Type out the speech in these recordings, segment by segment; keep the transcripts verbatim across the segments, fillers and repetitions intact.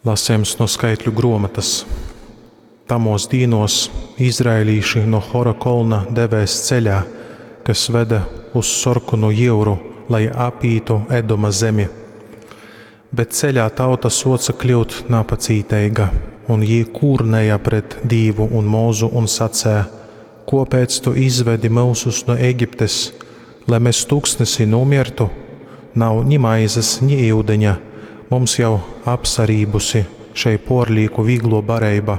Lasījums no skaitļu gruomotas. Tamos dīnos izraēlīši no Hora kolna devēs ceļā, kas veda uz Sorkonu jyuru, lai apītu Edoma zemi. Bet ceļā tauta soca kļūt napacīteiga, un jī kūrnēja pret Dīvu un Mūzu un sacēja: Kopēc tu izvedi mūsus no Egiptes, lai mēs tuksnesī nomiertu? Nav ni maizes, ni ūdeņa, mums jau apsarībusi šei porlīku viglo bareiba.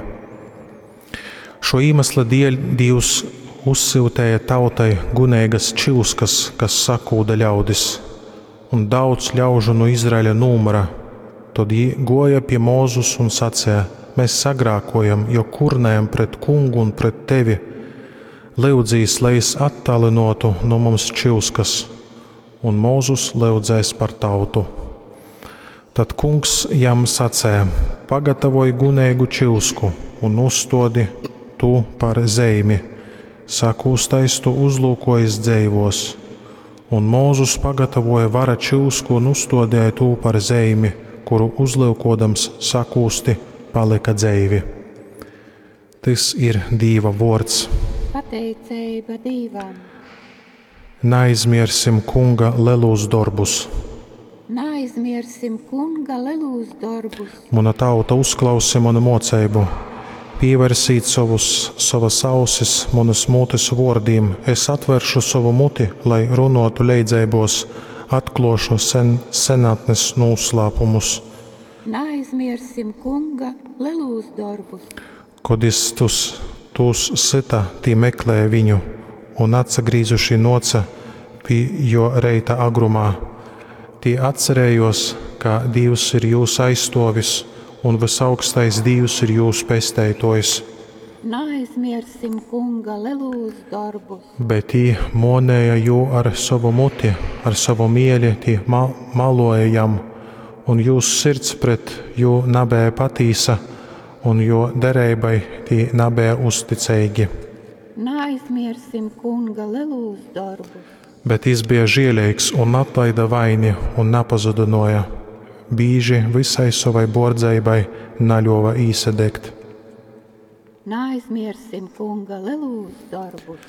Šo iemesla dēļ Dievs uzsūtīja tautai guneigas čyuskas, kas sakūda ļaudis, un daudz ļaužu no Izraēļa nūmara. Tad jī goja pie Mūzus un sacīja: Mēs sagrākojam, jo kurnējam pret kungu un pret tevi. Lyudzīs, lai es attālinotu no mums čyuskas, un Mūzus lyudzēs par tautu. Tad kungs jam sacēja: Pagatavoj guneigu čyusku un uzstodi tu par zeimi. Sakūstais tu uzlūkojas dzeivos. Un Mūzus pagatavoja vara čyusku un uzstodēja tū par zeimi, kuru uzlūkodams sakūsti palika dzeivi. Tys ir Dīva vords. Pateiceiba Dīvam. Neaizmiersim kunga lelūs dorbus. Neaizmiersim kunga lelūs dorbus. Muna tauta uzklausi manu moceibu, pievērsīt savus, savas ausis manas mutes vārdiem. Es atveršu savu muti, lai runotu leidzeibos, atklošu sen, senatnes noslēpumus. Neaizmiersim kunga lelūs dorbus. Kod jis tus, tūs syta, tī meklēja viņu, un atsagrīzuši noca pie jo reita agrumā. Tī atcerējos, ka Dievs ir jūs aizstovis, un visaugstais Dievs ir jūsu pesteitojs. Neaizmiersim kunga lelūs dorbus. Bet tī monēja jū ar savu muti, ar savu mieli, tī ma maloja jam, un jūs sirds pret jū nabēja patīsa, un jo dereibai tī nabēja uzticeigi. Neaizmiersim kunga lelūs dorbus. Bet jis bija žēlīgs un atlaida vaini un napazudinoja. Bīži visai savai bordzeibai naļova īsadegt. Neaizmiersim kunga lelūs dorbus.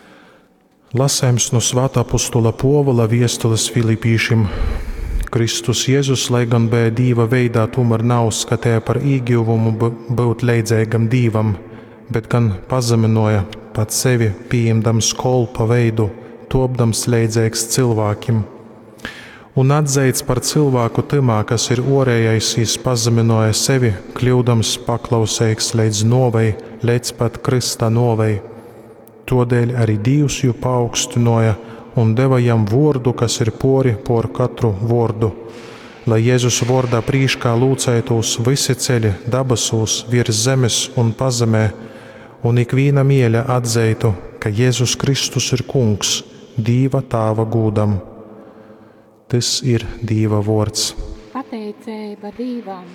Lasējums no Svētā apostula Povola viestules Filipīšim. Kristus Jēzus, lai gan bija Dīva veidā, tomēr nav uzskatēja par īguvumu būt leidzīgam Dīvam, bet gan pazeminoja pat sevi, pieņemdams kolpa veidu, topdams leidzīgs cilvēkiem. Un atzeits par cilvēku tymā, kas ir orējais, jis pazeminoja sevi, kļūdams paklausīgs līdz novei, līdz pat Krista novei. Todēļ arī Dievs jū paaugstinoja un deva jam vordu, kas ir pori por katru vordu, lai Jēzus vordā prīškā lūcētos visi ceļi dabasūs, virs zemes un pazemē, un ikvīna mieļa atzeitu, ka Jēzus Kristus ir kungs, Dīva tāva gūdam. Tys ir Dīva vords. Pateiceiba Dīvam.